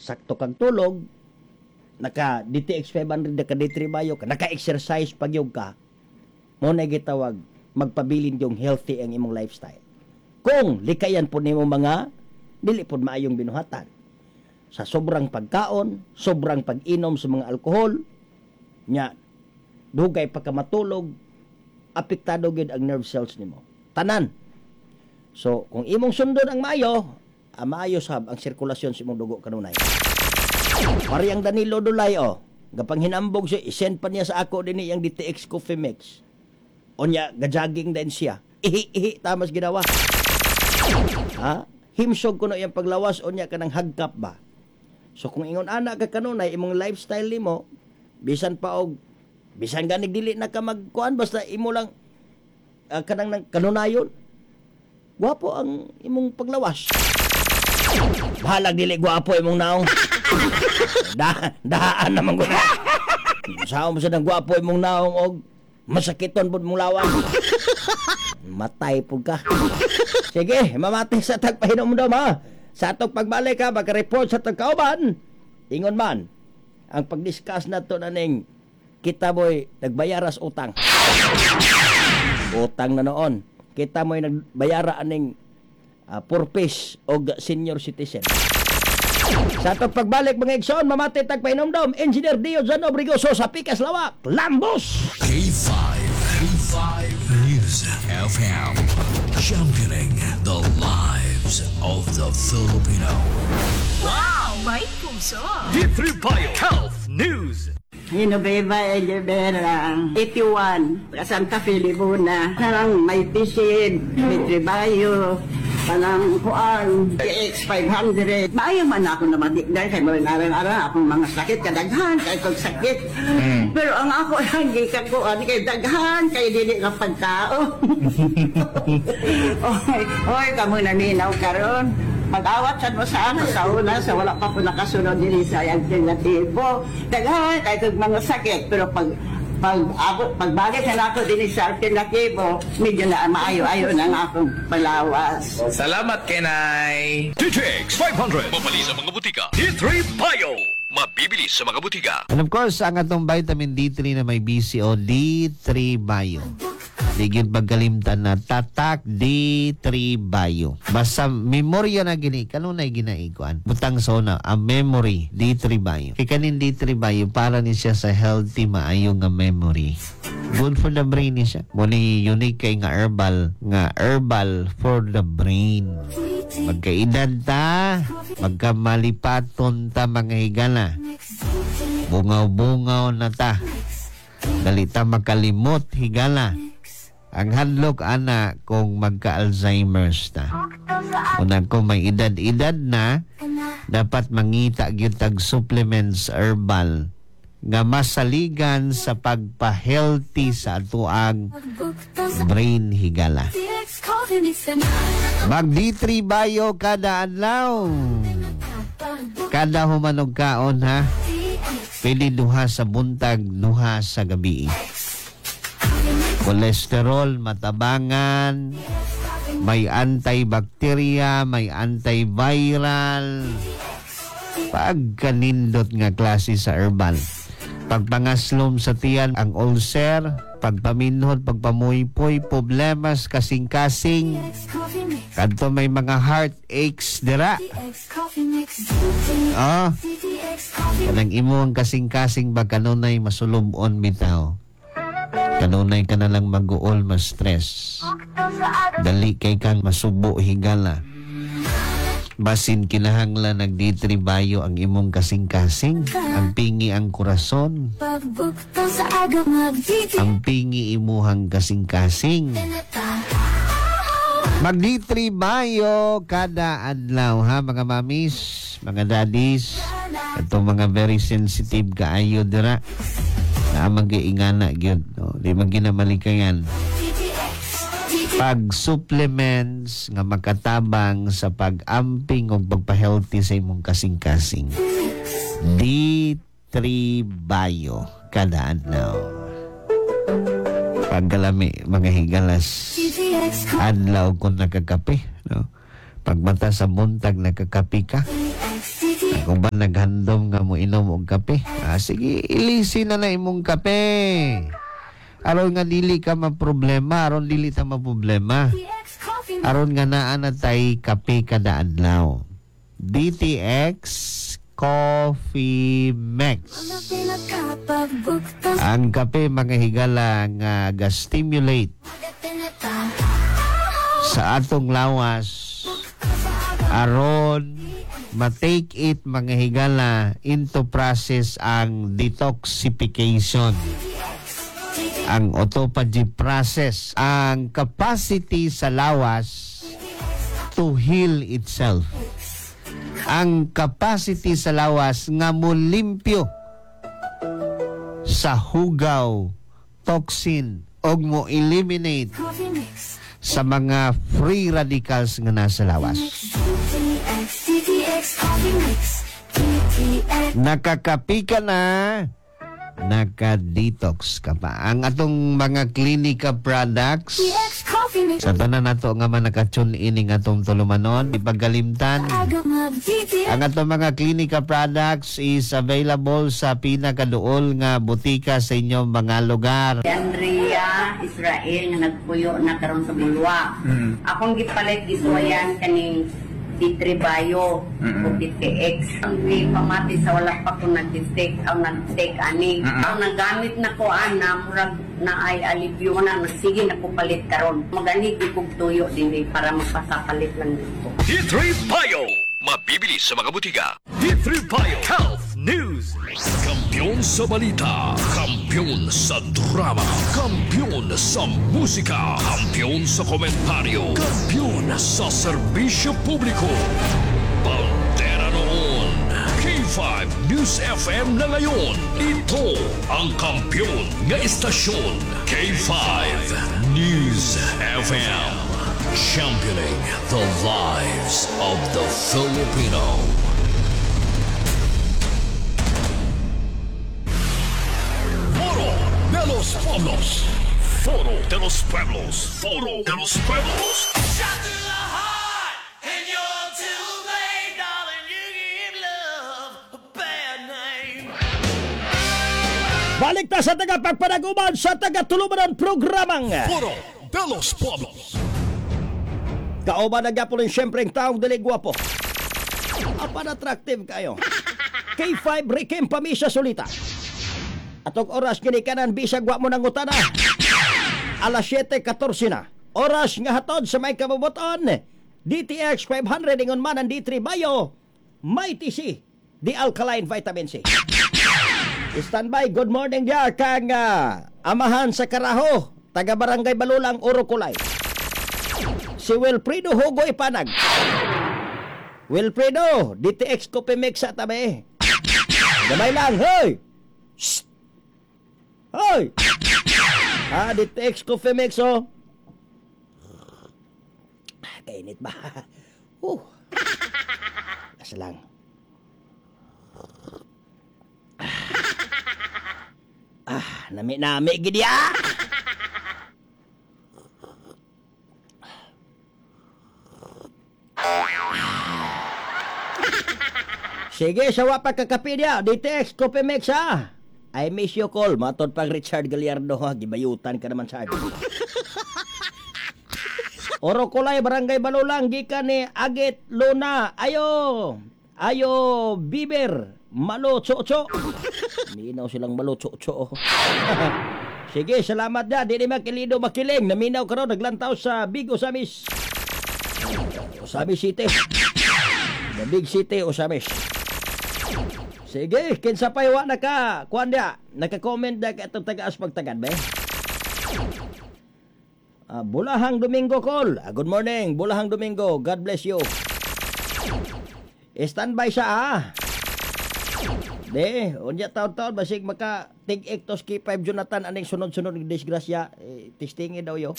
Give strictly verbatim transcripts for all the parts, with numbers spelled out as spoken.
Sakto kag tulog, naka D T X five hundred, naka D three Bio ka, naka-exercise pag ka, mo na gitawag magpabilin yung healthy ang imong lifestyle. Kung likayan po nimo mga dili pod maayong binuhatan sa sobrang pagkaon, sobrang pag-inom sa mga alkohol, nya dugay pa ka matulog, apektado gyud ang nerve cells nimo. Tanan. So, kung imong sundon ang maayo, ang maayo sab ang sirkulasyon sa imong dugo kanunay. Parehang Danilo Dulay oh. Gapang hinambog siya, isend pa niya sa ako dinhi yang D T X Coffee Mix. Onya, gajaging din siya. Ihi-ihi tamas ginawa. Ha? Himsog kuno yang paglawas, unya kanang hagkap ba. So kung ingon ana ka kanunay imong lifestyle nimo, bisan pa og bisan ganig dili na ka magkuan, basta imo lang uh, kanang nang kanunayon, gwapo ang imong paglawas. Bahalag dili gwapo imong naong. Da, daan naman ko na. Sao mo sa nang gwapo imong naong og masakiton pud mong lawas. Matay pud ka. Sige, mamati sa tagpahinomdom ha. Sa atong pagbalik ha, maka-report sa atong kauban. Ingon man, ang pag-discuss na to na ning kita mo'y nagbayaras utang. Utang na noon. Kita mo'y nagbayara aning uh, purpose og senior citizen. Sa atong pagbalik, mga igsoon, mamati tagpahinomdom, Engineer Dio Zano Brigoso sa Pikas Lawak, Lambos! K five, K five News F M, championing the lives of the Filipino. Wow! May puso! D three Bio Health News. Genoveva Elibera, eighty-one, Santa Fe, Libuna. Kanang may pisid, may tribayo, kanang kuan, K X five hundred. Maayo man ako na madigday kay marinarang akong mga sakit kadaghan kay kog sakit. Pero ang ako lang gikan kuan kay daghan kay dili ka pagkao. Oy, oy, kamo naminaw karon. Pag-awat sad mo sa ako sa una sa wala pa po nakasunod dinhi sa alternatibo. Daghan kay kog mga sakit, pero pag pag ako pagbalik na ako dinhi sa alternatibo, medyo na maayo-ayo na ang akong palawas. Salamat kay Nay. D T X five hundred. Mabili sa mga butika. D three Bio. Mabibili sa mga butika. And of course, ang atong vitamin D three na may B C O, D three Bio. Di gyud pagkalimtan na tatak D three Bio. Basta memorya na gini, kanunay ginaikuan. Butang sa una, ang memory, D three Bio. Kay kanin D three Bio, para ni siya sa healthy, maayo nga memory. Good for the brain ni siya. Mo ni unique kay nga herbal, nga herbal for the brain. Magkaedad ta, magkamalipaton ta, mga higala. Bungaw-bungaw na ta. Dali ta makalimot, higala. Ang hadlok ana kung magka-Alzheimer's ta. Una kung may edad-edad na, dapat mangita gyud tag supplements herbal nga masaligan sa pagpa-healthy sa atoang brain, higala. Mag D three Bio kada adlaw. Kada humanog kaon ha. Pwede duha sa buntag, duha sa gabi. Cholesterol, matabangan, may antibacteria, may antiviral. Pagkanindot nga klase sa herbal. Pagpangaslom sa tiyan, ang ulcer, pagpaminhod, pagpamuypoy, problemas, kasing-kasing, kadto may mga heart aches dira. Ah, kanang imo ang kasing-kasing ba kanunay masulubon bitaw. Kanunay ka na lang mag-uol, ma-stress. Dali kay kang masubo, higala. Basin kinahanglan nag D three Bio ang imong kasing-kasing, ang pingi ang kurason, ang pingi imuhang kasing-kasing. Mag D three Bio kada adlaw ha, mga mamis, mga daddies, itong mga very sensitive kaayo dira. Na magiingana gyud, no? Di man ginamalikayan. Pag supplements nga makatabang sa pag-amping o pagpa-healthy sa imong kasing-kasing. D three Bio kada adlaw. Pagkalami, mga higalas, adlaw kung nakakape, no? Pagmata sa buntag, nakakape ka. Kung ba naghandom nga mo inom og kape? Ah, sige, ilisi na na imong kape. Aron nga dili ka maproblema, aron dili ta maproblema. Aron nga naa na tay kape kada adlaw. D T X Coffee Mix. Ang kape mga higala nga ga-stimulate sa atong lawas aron ma-take it mga higala into process ang detoxification, ang autophagy process, ang capacity sa lawas to heal itself, ang capacity sa lawas nga molimpyo sa hugaw, toxin, og mo eliminate sa mga free radicals nga nasa lawas. Nakakapi ka na, naka-detox ka pa. Ang atong mga klinika products, sa tanan nato nga man naka-tune in ning atong tulumanon, ipagalimtan. Ang atong mga klinika products is available sa pinakaduol nga butika sa inyong mga lugar. Si Andrea Israel nga nagpuyo na karon sa Bulwa. Mm. Akong gipalit gisuwayan kaning D three Bio mm-hmm. o D T X. Ang pamati sa wala pa ko nag-take o nag-take ani. Mm-hmm. Ang nagamit na ko ana murag na ay alibyo na nagsige na ko palit karon. Maganig kog tuyo dinhi para mapasapalit lang dito. D three Bio mabibili sa mga butika. D three Bio Health News. Kampiyon sa balita, kampiyon sa drama, kampiyon sa musika, kampiyon sa komentaryo, kampiyon sa serbisyo publiko. Bandera noon, K five News F M na ngayon. Ito ang kampiyon nga istasyon, K five News F M. Championing the lives of the Filipino. Foro de los Pueblos. Foro de los Pueblos. Foro de los Pueblos. Shot through the heart and you're to blame, darling. You give love a bad name. Balik ta sa taga-pagpanaguman sa taga-tulumanon programang Foro de los Pueblos. Kauban na gyapon siyempre ang taong dili gwapo. Apan attractive kayo. K five Rikim Pamisa Solita. Atong oras ginikanan bisag wa mo nangutana. Alas siyete katorse na. Oras nga hatod sa may kabubuton. D T X five hundred ingon man ang D three Bio. Mighty C, the alkaline vitamin C. Standby, good morning dia kang uh, amahan sa Karaho, taga Barangay Balulang, Orocolay. Si Wilfredo Hugoy Panag. Wilfredo, D T X Coffee Mix sa tabi. Gamay lang, hoy! Shh! Hoy! Ah, D T X Coffee Mix, oh. Ah, kainit ba? Uh. Asa lang. Ah, nami-nami gid ya. Sige, sawa pa kakape niya. D T X Coffee Mix, ha? I miss you, call. Matod pag Richard Gallardo, ha? Gibayutan ka naman sa akin. Oro Kulay, Barangay Balulang, gikan ni Agit Luna. Ayo! Ayo, Biber. Malo, tso-tso. Minaw silang malo, tso-tso. Sige, salamat na. Di ni makilido makiling. Naminaw ka raw, naglantaw sa Big Osamis. Osamis City. The Big City, Osamis. Sige, kinsa pa'y wa naka, kuan dia, naka-comment na ka itong taga-as pagtagad, ba? Uh, Bulahang Domingo call. Uh, good morning, Bulahang Domingo. God bless you. Stand by siya, ah. De, unya taon-taon, basig maka tig-ek tos K five Jonathan, aning sunod-sunod ng disgrasya, eh, testingin daw yo.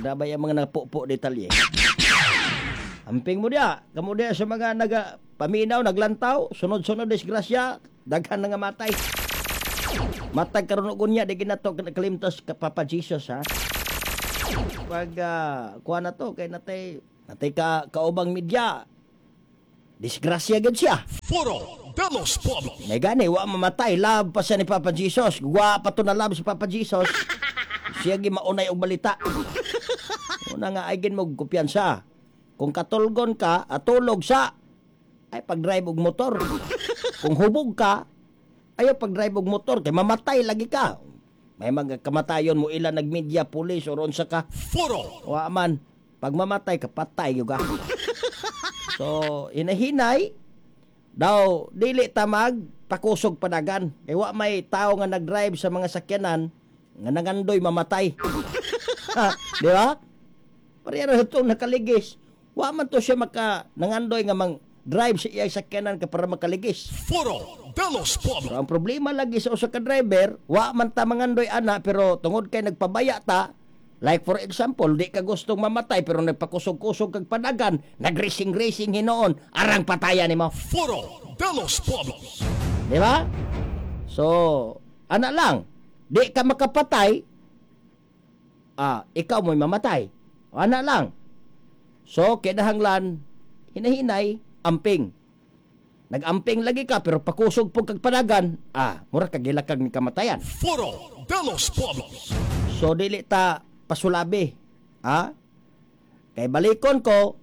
Dabay ang mga napupo detalye. Amping mo diya, kamo diya sa mga naga paminaw, naglantaw, sunod-sunod disgrasya, daghan na nga matay. Matag karon og unya di ginato kalimtos ka Papa Jesus, ha. Pag uh, kuha na to kay natay natay ka kaubang media. Disgrasya gyud siya. Foro de los Pueblos. May gani, wa mamatay. Love pa siya ni Papa Jesus. Wa pa to na love si Papa Jesus. Siya gi maunay og balita. Una nga ay gin mo kumpiyansa. Kung katulgon ka, atulog sa ay pag-drive og motor. Kung hubog ka, ayaw pag-drive og motor kay mamatay lagi ka. May mga kamatayon mo ila nagmedia pulis or unsa ka. Foro. Wa man pag mamatay ka patay gyud ka. So hinahinay daw dili ta mag pakusog padagan. Kay wa may tao nga nag-drive sa mga sakyanan nga nangandoy mamatay. Ha, di ba? Pareho itong nakaligis. Wa man to siya maka nangandoy nga mang drive sa iyang sakyanan ka para makaligis. Foro de los Pueblos. So, ang problema lagi sa usa ka driver, wa man ta mangandoy ana pero tungod kay nagpabaya ta, like for example, di ka gustong mamatay pero nagpakusog-kusog kag padagan, nag-racing-racing hinuon, arang patayan nimo. Foro de los Pueblos. Di ba? So, ana lang, di ka makapatay, ah, ikaw mo'y mamatay. Ana lang. So, kinahanglan, hinahinay, amping. Nag-amping lagi ka pero pakusog po kag padagan, ah, mura kag gilakag ni kamatayan. Foro de los Pueblos. So dili ta pasulabi, ha? Kay balikon ko,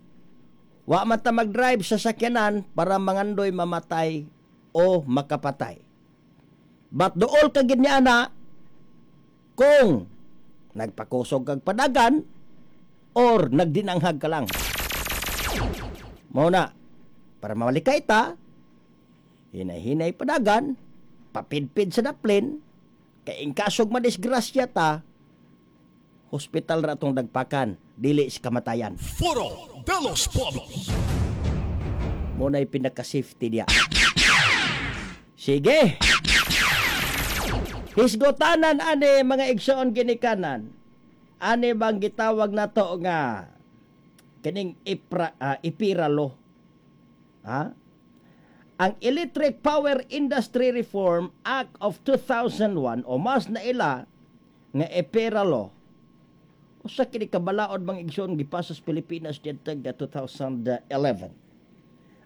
wa man ta mag-drive sa sakyanan para mangandoy mamatay o makapatay. But dool ka gid niya ana kung nagpakusog kag padagan or nagdinanghag ka lang. Mao na, para malikay ta, hinay-hinay padagan, papidpid sa daplin, kay in kasog madisgrasya ta, hospital ra tong dagpakan, dili sa kamatayan. Foro de los Pueblos. Mo na'y pinaka-safety diya. Sige. Hisgotanan ane mga igsoon ginikanan. Ane bang gitawag nato nga kining ipra, uh, EPIRA law. Ha? Ang Electric Power Industry Reform Act of two thousand one o mas naila nga EPIRA law. Usa kini kabalaod mga igsoon gipasa sa Pilipinas didto two thousand eleven.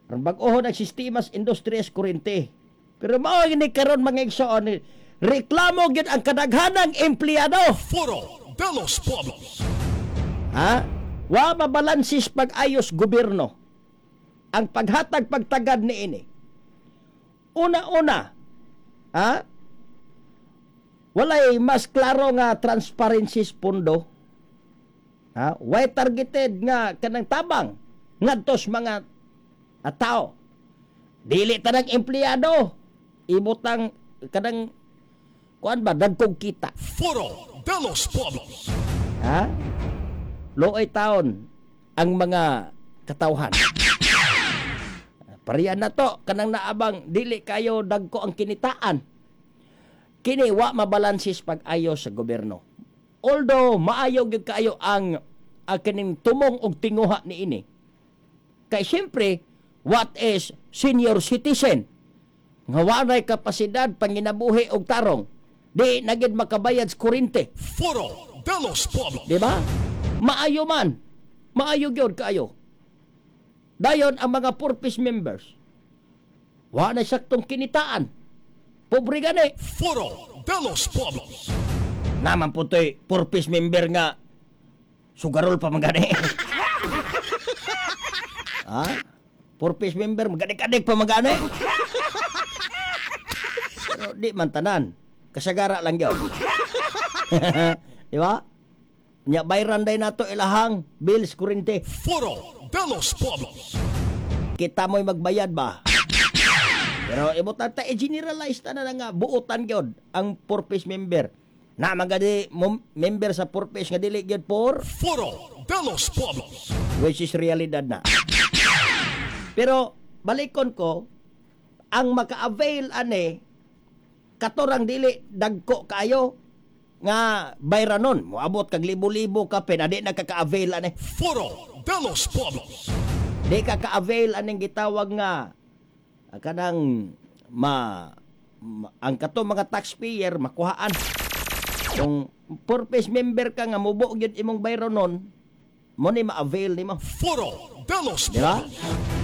Aron bag-ohon ang sistema sa industriya sa kuryente. Pero mao gini karon mga igsoon, reklamo gyud ang kadaghanang empleyado. Foro de los Pueblos. Ha? Wa mabalansis pag-ayos gobyerno ang paghatag pagtagad niini. Una-una, ha? Walay mas klaro nga transparency sa pondo. Ha? Way targeted nga kanang tabang ngadto sa mga tao. Dili tanang empleyado ibutang kanang kuan ba dagkog kita. Foro de los Pueblos. Ha? Looy taon ang mga katawhan. Pariyan na to kanang naabang dili kayo dagko ang kinitaan. Kini wa mabalansis pag-ayo sa gobyerno. Although maayo gyud kaayo ang, ang kining tumong og tinguha niini. Kay siyempre, what is senior citizen? Nga wa nay kapasidad panginabuhi og tarong. Di na gid makabayad sa kuryente. Foro de los Pueblos. Di ba? Maayo man. Maayo gyud kaayo. Dayon ang mga purpose members. Wa na saktong kinitaan. Pobre gani. Foro de los Pueblos. Naman po to'y purpose member nga sugarol pa man gani. Ha? Purpose member magadik-adik pa man gani. Pero di man tanan. Kasagara lang yun. Di ba? Nya bayran day nato ilahang bills kurente. Foro de los Pueblos. Kita mo'y magbayad ba? Pero ibutang ta i-generalize ta na nga buotan gyud ang purpose member. Na magadi member sa purpose nga dili gyud por Foro de los Pueblos. Which is realidad na. Pero balikon ko ang maka-avail ane katorang dili dagko kaayo nga bayranon moabot kag libo-libo ka pen adi na ka-avail ane. Foro de los Pueblos. Di ka ka-avail aning gitawag nga kanang ma, ma ang kato mga taxpayer makuhaan. Kung purpose member ka nga mubo gyud imong bayranon mo ni ma-avail nimo. Foro de los Di ba? Pueblos.